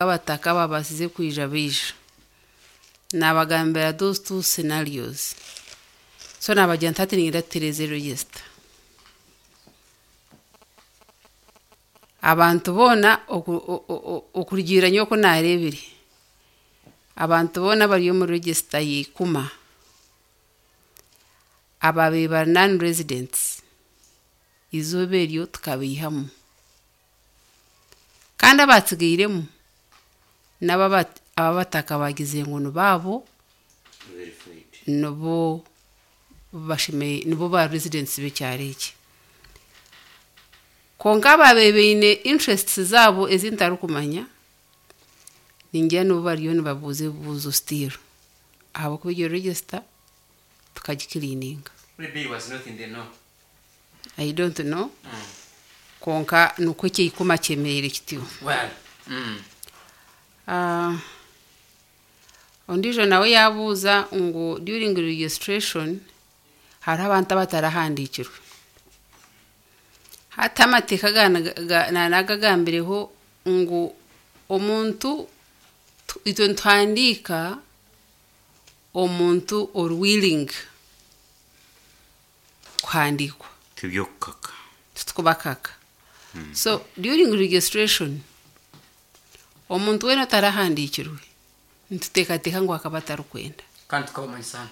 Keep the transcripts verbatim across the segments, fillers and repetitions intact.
Abataka ababaasize kwija baija naabagambira those two scenarios so naabagira nti hati niinyenda tutereeze register abantu boona oku- o- o- o- okurugiirira nyowe oku naareebire abantu boona abari omu register ya ikuma ababaire bari non residents eizooba eryo tukabaihamu kandi abatsigairemu nabo aba- abataka bagize ngu nibaabo Verified. nibo bashemeriire nibo ba residents b'ekyaro eki kwonka ababaire baine interests zaabo ezi ntarikumanya ningira nibo bariyo nibabuuza ebibuuzo still ahabw'okuba egyo register tukagicleaninga Maybe he was not in the know. I don't know kwonka nikwo ekyeikuma kyemereire kityo Well, mm. Ah, ondiijo nawe yaabuuza ngu during registration hariho abantu abatarahandiikirwe hati amateeka ga- ga- naanagagambireho ngu omuntu tu- itwe nituhandiika omuntu ori willing kuhandiikwa Tibyokukaka. titukubakaka so during registration omuntu weena otarahandiikirwe nituteekateeka ngu akaba atarikwenda kandi tukabamanyisa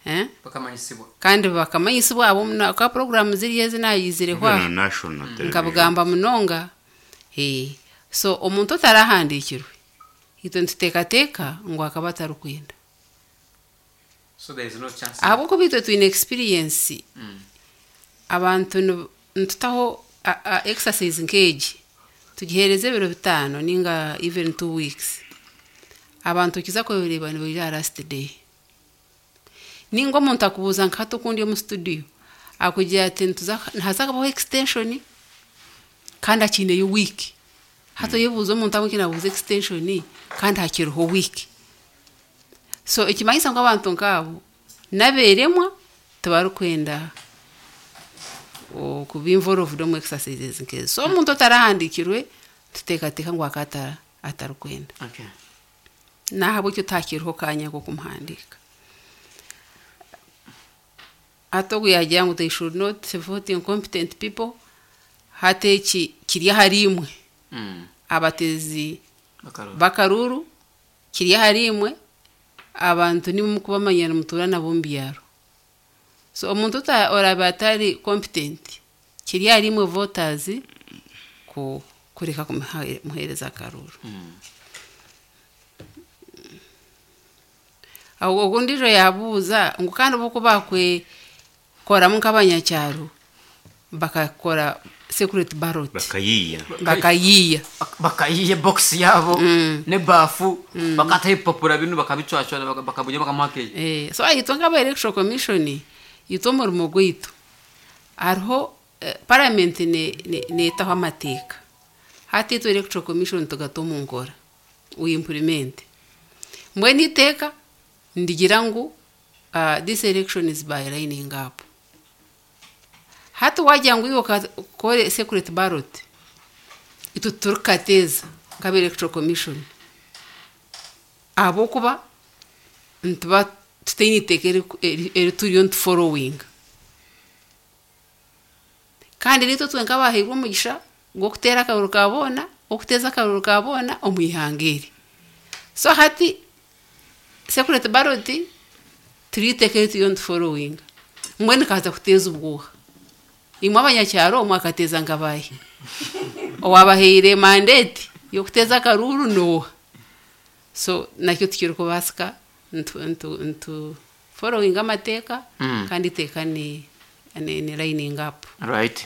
eh? bakamanyisibwa kandi bakamanyisibwa abo ka poroguramu ziriyo ezi naayizireho Even aho on national television. nkabugamba munonga eh. so omuntu otarahandiikirwe itwe nituteekateeka ngu akaba atarikwenda so there is no chance ahabw'okuba itwe twine experience Mm. abantu ni- nitutaho a- a- exercise nk'egi tugiheereza ebiro bitaano ninga even two weeks abantu okiza kureeba nibaija last day ninga omuntu akubuuza nka hati okundi omu studio akugira ati nituza nihaza kubaho extension kandi akiineyo week hati oyebuuza omuntu ahabw'enki naabuuza extension kandi hakiriho week so ekimanyisa ngu abantu nkaabo n'abeeremwa tibarikwenda okuba involved omu exercises nk'ezo so omuntu otarahandiikirwe tuteekateeka ngu aka atara atarikwenda okay nahabwekyo takiriho kanya k'okumuhandiika hati ogu yagira ngu they should not vote incompetent people hati eki kiri ahari imwe mm. abateezi Bakarora. b'akaruuru kiri ahari imwe abantu nimwe mukubamanya nimutuura nabo omu byaro so omuntu ota- oraabe atari competent kiri ahari imwe voters ku kureka kumuheereza akaruuru mm. aho ogundijo yabuuza ngu kandi bo bakwekoramu nk'abanyakyaro bakakora secret ballot Bakayiiya. bakayiiya Bak- bakayiya box yabo Mm. nebaafu bakataho ebipapura binu bakabicwacwana baka- bakabunya bakamuha keyi Eh, so itwe nk'aba electoral commission itwe omurimo gwaitu hariho eh, parliament ne- ne- neetaho amateeka hati itwe electoral commission tugata omu nkora we implement mbwenu iteeka ndigira ngu uh, this election is by lining up hati wagira ngu iwe okakore secret ballot itwe turikateeza nk'aba electoral commission ahabw'okuba nituba tutaine iteeka eri- eri- eri turiyo nituforowinga kandi nitwe twe nk'abahairwe omugisha gw'okuteera akaruru ka boona okuteeza akaruru ka boona omu ihanga eri so hati secret ballot turiyo iteeka eri turiyo nituforowinga mbwenu kaza kuteeza obwoha imwe abanyakyaro mwakateeza nkabahi owabahaire mandate y'okuteeza akaruru nooha so nakyo tikirikubaasika ntu, ntu, ntu following amateeka Mm. kandi iteeka ni, ni, ni lining up right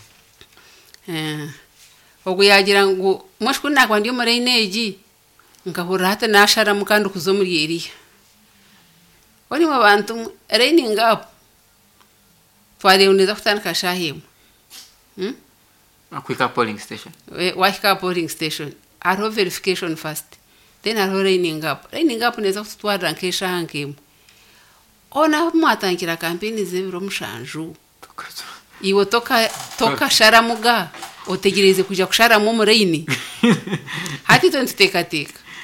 Eh, ogu yagira ngu mwashku nakuba ndi omu line egi nkahurira hati nasharamu kandi kuza omuri eriya onimwe bantu mwe, lining up twareeba neeza kutandika shaaha emwe Hmm? akwika polling station Eh, wahika aha polling station hariho verification first then hariho lining up lining up neeza kututwarira nk'eshaaha nk'emwe ona mwatandikira kampeni z'ebiro mushanju iwe toka tokasharamuga otegereze kuja kusharamu omu line hati itwe nituteekateeka